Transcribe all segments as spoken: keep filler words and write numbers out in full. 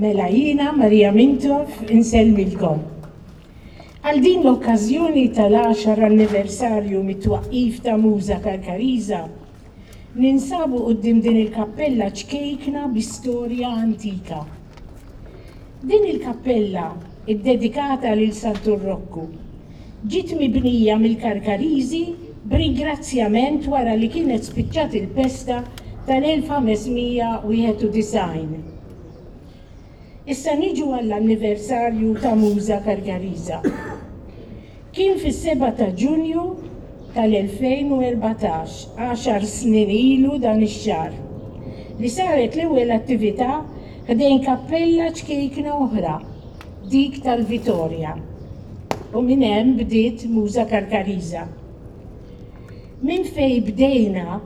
Mela jiena Maria Mintoff insellmilkom. Għal din l-okkażjoni tal-għaxar anniversarju mit-twaqqif ta' Muża Karkariża, ninsabu quddiem din il-kappella ċkejkna bi storja antika. Din il-kappella, iddedikata lil Santu Rokku, ġiet mibnija mill-Karkariżi b'ringrazzjament wara li kienet spiċċat il-pesta tal-elf ħames mija wieħed u disgħin. Issa niġu għall-anniversarju ta' Muża Karkariża. Kien fis-sebgħa ta' Ġunju tal-elfejn u erbatax, għaxar snin ilu dan ix-xahar, li saret l-ewwel attività ħdejn kappella ċkejkna oħra, dik tal-Vitorja. U minn hemm bdiet Muża Karkariża. Minn fej bdejna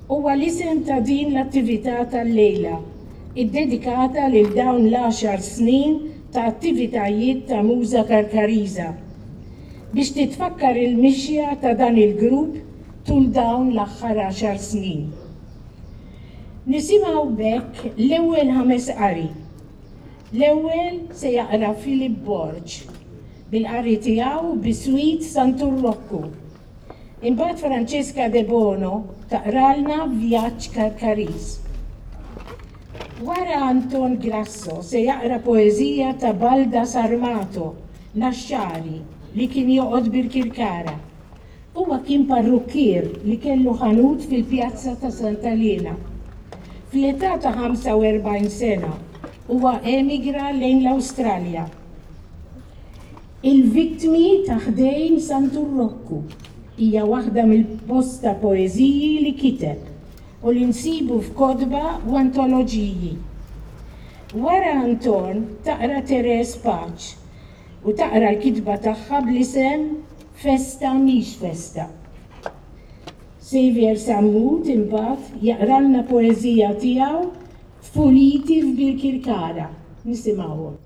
huwa l-isem ta' din l-attività tal-lejla, iddedikata lil dawn l-għaxar snin ta' attivitajiet ta' Muża Karkariża, biex titfakkar il-mixja ta' dan il-grupp tul dawn l-aħħar għaxar snin. Nisimgħu b'hekk l-ewwel ħames qari. L-ewwel se jaqra Philip Borg bil-qari tiegħu biswit Santu Rokku. Imbagħad Francesca De Bono taqralna Vjaġġ Karkariż. Wara Anton Grasso se jaqra poeżija ta' Balda Sarmato, Naxxari, li kien joqgħod Birkirkara. Huwa kien parrukkier li kellu ħanut fil-pjazza ta' Santa Liena. Fl-età ta' ħamsa u erbgħin sena huwa emigra lejn l-Awstralja. Il-vittmi ta' ħdejn Santu Rokku hija waħda mill-bosta poeżiji li kiteb u li nsibu f'kotba u antoloġiji. Wara Anton taqra Therese Pace u taqra l-kitba tagħha bl-isem Festa Mhix Festa. Xavier Sammut imbagħad jaqralna poeżija tiegħu Tfuliti f'Birkirkara. Nisimgħuhom.